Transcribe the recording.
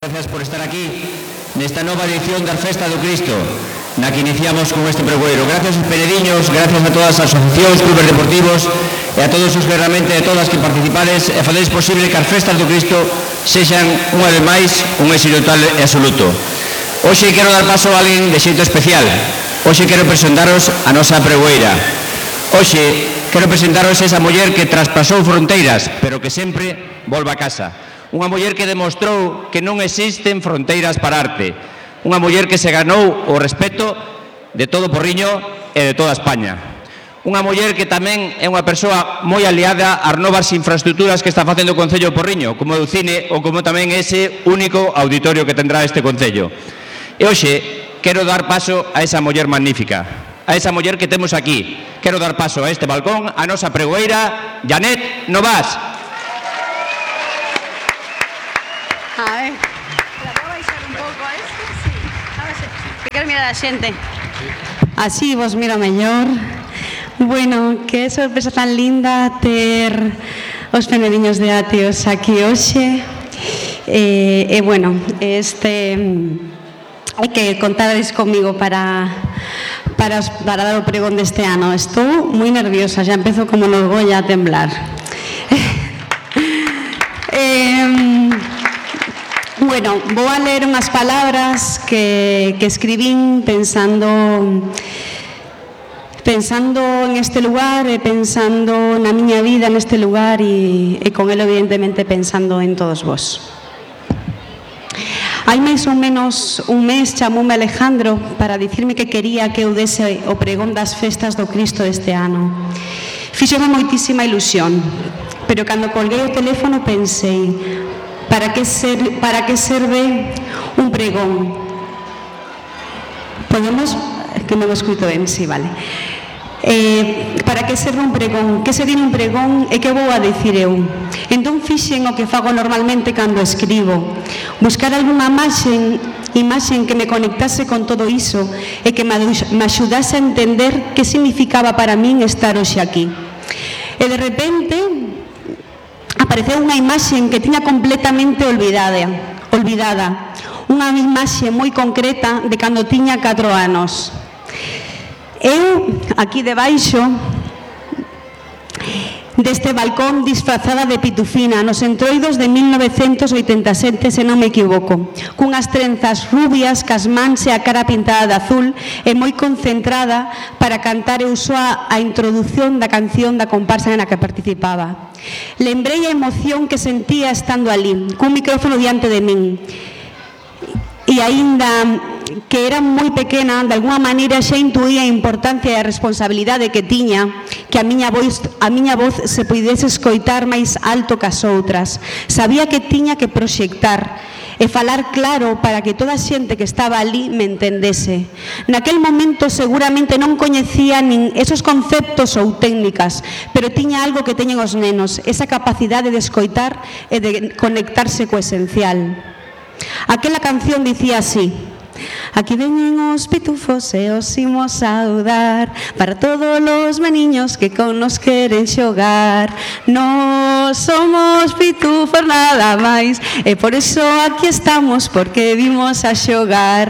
Gracias por estar aquí nesta nova edición da Festa do Cristo, na que iniciamos con este pregoeiro. Gracias aos penediños, gracias a todas as asociacións, clubes deportivos e a todos os que realmente, a todas que participades e fadedes posible que as Festas do Cristo sexan unha vez máis un éxito total e absoluto. Hoxe quero dar paso a alguén de xeito especial. Hoxe quero presentaros a nosa pregoeira. Hoxe quero presentaros esa muller que traspasou fronteiras, pero que sempre volve a casa. Unha muller que demostrou que non existen fronteiras para arte. Unha muller que se ganou o respeto de todo Porriño e de toda España. Unha muller que tamén é unha persoa moi aliada ás novas infraestructuras que está facendo o Concello de Porriño, como o cine ou como tamén ese único auditorio que tendrá este Concello. E hoxe quero dar paso a esa muller magnífica, a esa muller que temos aquí. Quero dar paso a este balcón a nosa pregoeira, Janet Novas. A ver, la puedo baixar un pouco a esto? Sí, a ver, que quero mirar a xente. Así vos miro mellor. Bueno, que sorpresa tan linda ter os penediños de Atios aquí hoxe. Bueno, hai que contades comigo para dar o pregón deste ano. Estou moi nerviosa, xa empezo como nos Goya a temblar. Bueno, vou a ler unhas palabras que escribín pensando en este lugar e pensando na miña vida neste lugar e con ele evidentemente pensando en todos vos. Hai máis ou menos un mes chamoume Alejandro para dicirme que quería que eu dese o pregón das festas do Cristo deste ano. Fíxome moitísima ilusión, pero cando colguei o teléfono pensei: para que serve un pregón? Podemos... que non o escuto ben, si, vale. Para que serve un pregón? Que sería un pregón e que vou a dicir eu? Entón fixen o que fago normalmente cando escribo, buscar algunha imaxen que me conectase con todo iso e que me axudase a entender que significaba para min estar hoxe aquí. E de repente apareceu unha imaxe que tiña completamente olvidada, unha imaxe moi concreta de cando tiña 4 anos. Eu, aquí debaixo deste balcón, disfrazada de pitufina, nos entroidos de 1987, se non me equivoco, cunhas trenzas rubias, cas mans e a cara pintada de azul, e moi concentrada para cantar eu soa a introdución da canción da comparsa na que participaba. Lembrei a emoción que sentía estando ali, cun micrófono diante de min. E aínda que era moi pequena, de alguma maneira xa intuía a importancia e a responsabilidade que tiña que a miña voz se puidese escoitar máis alto que as outras. Sabía que tiña que proxectar e falar claro para que toda a xente que estaba ali me entendese. Naquel momento seguramente non coñecía nin esos conceptos ou técnicas, pero tiña algo que teñen os nenos, esa capacidade de escoitar e de conectarse co esencial. Aquela canción dicía así: aquí veñen os pitufos e os imos saudar, para todos os meniños que con nos queren xogar. Nos somos pitufos nada máis, e por iso aquí estamos, porque vimos a xogar.